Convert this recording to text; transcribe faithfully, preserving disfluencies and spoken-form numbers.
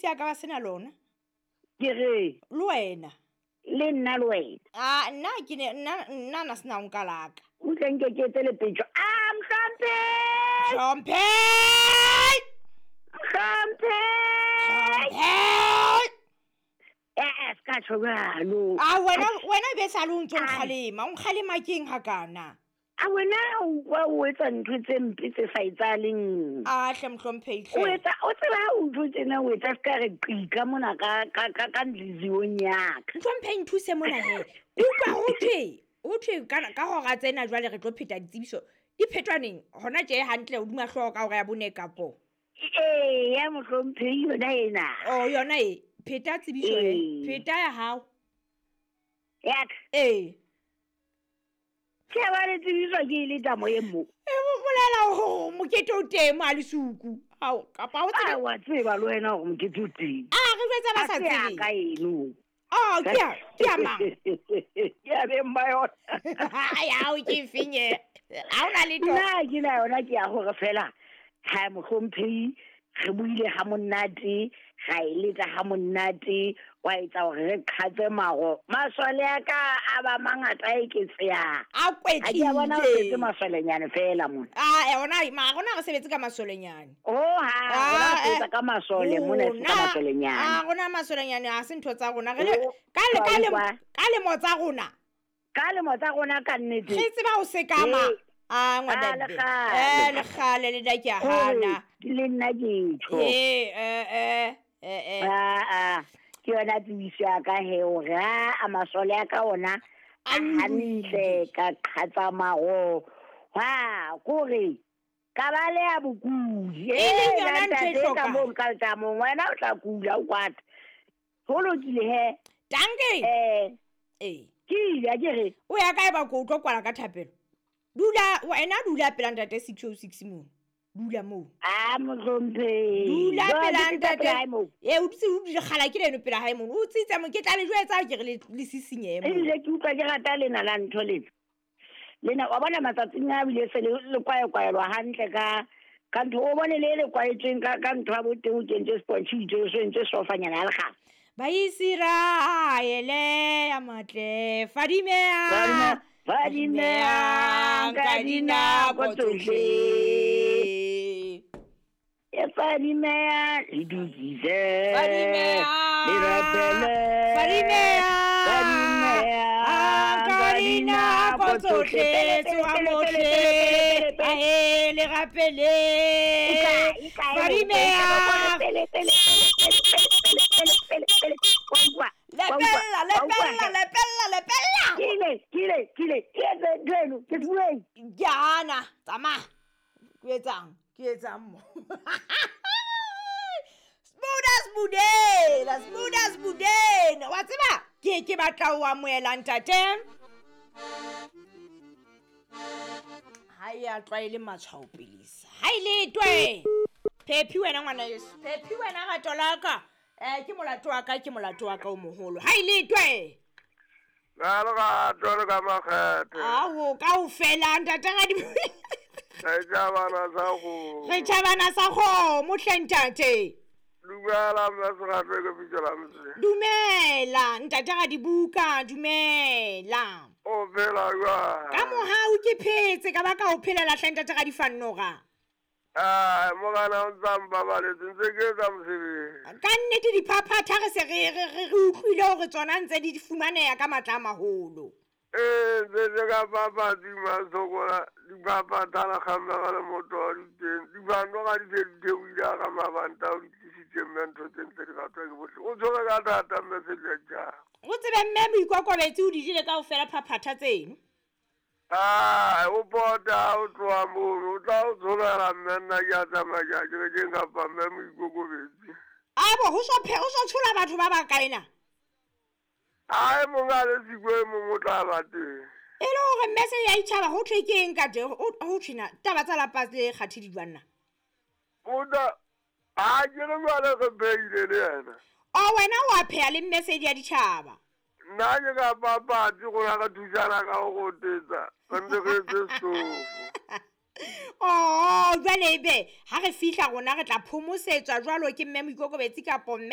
ya ka ba sena lona. Ke re Le wena. Le nna le wena. Ah, nna ke ne nna nna na sena o nka laka. O tle nke ke etse lepetjo. Ah, Mhlomphe! Hlomphe! Mhlomphe! Hlomphe! Eh, eh, se ka tjho jwalo. Ah, wena wena be sa le o ntso nkgalema. O nkgalema keng hakana? A wena o kwa o etsa ntho tse mpe tse sa etsahaleng. Ah, hle Mhlomphe O hle. etsa o tseba ha o ntho tsena o etsa se ka re qika mona ka ka ka ka ntliziyong ya ka. Mhlomphe nthuse mona he. Ke utlwa ho thwe, ho thwe ka ka hora tsena jwale re tlo pheta ditsebiso. Di phetwa neng? Hona tje hantle hodima hlooho ka hora ya bone kapo. Ee, ya Mohlomphe yona ena. Oh, yona e. Pheta tsebiso e. Ee. Pheta ya hao. Ya ka. Ee. Ke ba le tsebiso ke e le tamo e mo. E bo bolela hore mokete o teng mo a lesuku. Hao, kapa ha o tsebe. Ah, wa tseba le wena hore mokete o teng. Ah, re jwetsa ba sa Ha se ya tsebeng. ka eno. Oh, ke ya, ke ya mang? Ke ya beng ba yona. Ai, hao ke efeng e? Ha hona letho. Nna ke na yona ke ya hore fela ha Mohlomphehi re buile ha monate, ra e letsa ha monate, wa etsa hore re qhatse maro. Masole a ka a ba mangata a eketseha. A Ha ke a bona ho setse kwetlile. masolenyane fela mona. Ah, eh, ona ma rona re sebetse ka masolenyane. Oh, ha, rona Ah, re sebetsa ka masole mona, e seng ka rona- masolenyane. Ah, rona masolenyane ha se ntho tsa rona. Re le Oh, ka le ka wa le utlwa. ka lemo tsa rona. Ka lemo tsa rona ka nnete. Re tseba ho sekama. Ee. Ah, ngwana Ah, Be. lekgale. Eh, lekgale le da ke a hana. Hore le nna ke tjho. Eh, eh, eh, eh, eh. Ah, ah, ke yona tsebiso ya ka he hore ha a masole a ka ona a A hantle ka qhatsa maro. Ha, kore ka ba le ya bokudi. E leng Eh, yona ntho e ntate, ka hlokang. moo ka tsamong wena o tla kula o kwata. Ho lokile he. Danke. Eh, Eh. ke ile a ke re. O ya kae ba ko o tlo kwala ka thapelo? Dula wena dula pela ntate six oh six moo. Dula moo. Ah, Mohlomphehi. Dula Jwale pela ke tla ntate. pela hae moo. Eh, o dutse o dutse kgala ke leno pela hae mono. O tsitsa mo ke tla le jwetsa ke re le le sisinyehe moo. Ebile ke utlwa ke rata lena la ntho lena. Lena wa bona matsatsing a bile se le le kwaekwaelwa hantle ka ka ntho o bone le le kwaetsweng ka ka ntho ya bo teng o kentse sponge o itse o so entse sofanyana ya lekgala. Baisiraele ya matle fadimea Fadimea ka dinako tsohle. E fadimea le dukise. Fadimea Le rapele. Fadimea Fadimea ka dinako tsohle tsoha mohle ahe le rapele Fadimea lepella lepella lepella lepella Ke ile ke ile ke ile ke etse ntho eno ke bueng. Ke hana tsamaya ke etsang ke etsang mo Smuda smudela smuda smudena wa tseba ke ke batla ho amohela ntate ha e a tlwaele matshwao pelesa ha e letwe Phephi wena ngwana yeso Phephi wena rato la ka eh ke molato wa ka ke molato wa ka o moholo ha e letwe Ka lerato le ka makgethe. Ao kaofela ntate Radi Re tjhabana sa kgomo. Re tjhabana sa kgomo hle ntate. Dumela mme Serato ke bitso la motse. Dumela ntate Radibuka dumela. O phela jwang? Ka mohau ke phetse ka ba ka o phelela hle ntate Radifannoga. Ah, morena o ntsa mpabaletse ntse ke etsa mosebetsi. Ka nnete diphaphatha re se re re re utlwile hore tsona ntse di fumaneha ka matla a maholo. Ee, ntse ke ka papatsi masokola diphaphatha la kgammega le moto di teng. Difannoga di se di theohile ka mabanta o di tlisitse mme ntho tse ntse di ratwa ke bohle. O tshwere ka thata mme Sejajang. O tsebe mme Moikokobetsi o di jele kaofela phaphatha tseno. Ah, o pota o tloha mono, o tla o tsholela mme nna ke a tsamaya ke ya kerekeng kapa mme Moikokobetsi. Abo ho so phe ho so tshola batho ba bakae na? Ai mong a le siko e mong o tla ba teng. E le hore mme se ya itjhaba ho thwe ke eng ka teng? Ho thwe na taba tsa lapa le kgathi di jwang na? O tla ha ke re jwale re phehile le yena. O wena wa pheha le mme se ya ditjhaba. Nna ke ka papatsi rona re thusana ka ho rotetsa re ntse re etse setofo. Oh, jwale ebe ha re fihla rona re tla phomosetswa jwalo ke mme Moikokobetsi kapo mme